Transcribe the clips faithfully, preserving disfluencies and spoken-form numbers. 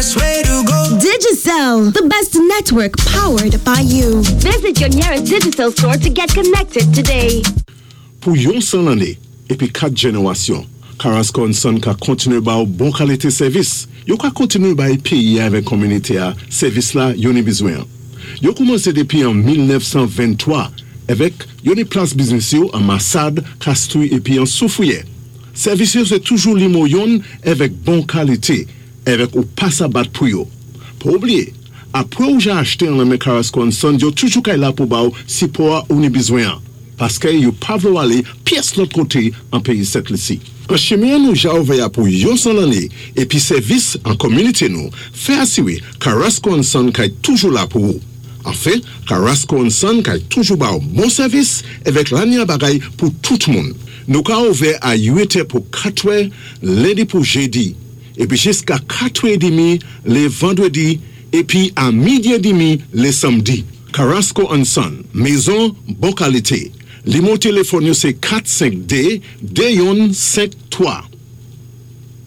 best way to go. Digicel, the best network powered by you. Visit your nearest Digicel store to get connected today. Pou yon san lanné, épi kat jénéwasyon, Carasco and Son ka kontiné ba ou bon kalité sèvis. Yo ka kontiné bay péyi avèk kominité-a sèvis la yo ni bizwen. Yo koumansé dépi an mil nèf san venntwa avèk yo ni plas biznis yo an Masad, Castries épi an Soufrière. Sèvis yo sé toujou nimewo youn avèk bon kalité, avèk ou pa sa bat pou yo. Pa oubliyé, apwé ou ja achté an nan men Carasco and Son, yo toujou kay la pou ba ou sipò ou ni bizwen. Paské yo pa vlé ou alé pyès lòt koté an péyi Sent Lisi. An chimen nou ja ouvè pou yon san lanné épi sèvis an kominité nou, fè asiwé Carasco and Son kay toujou la pou ou. Anfen, Carasco and Son kay toujou ba ou bon sèvis avèk lanya bagay pou tout moun. Nou ka ouvè a uit è pou kat è, lendi pou jédi, épi jiska kat è demi lé vandwédi, épi a midi édmi lé sanmdi. Carasco and Son, mézon bon kalité. Nimewo téléfòn yo sé kat senk dé de youn senk twa.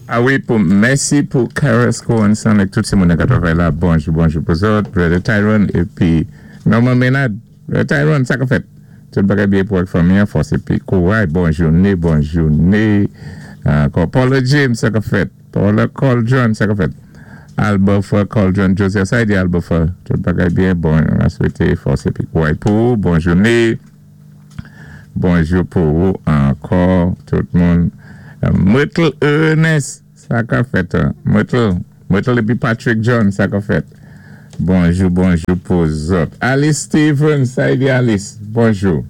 A wi, pou, mèsi pou Carasco and Son ak tout sé moun ka twavay la. Bonjou, bonjou pou zòt, Brother Tyrone, épi Norman Maynard. Brother Tyrone, sa ka fèt? Tout bagay byen pou ak fanmi, fòs épi kouray, bon jouné, bon jouné. Ankò Paula James, sa ka fèt? Paula Coldron, sa ka fèt? Albofa Coldron Joseph, sa di Albofa, tout bagay byen, bon, an swété fòs épi kouray pou, bon jouné. Bonjou pou ou ankò, tout moun. Myrtle Ernest, sa ka fèt? Myrtle, Myrtle épi Patrick John, sa ka fèt? Bonjou, bonjou pou zòt. Alice Stevens, sa di Alice, bonjou.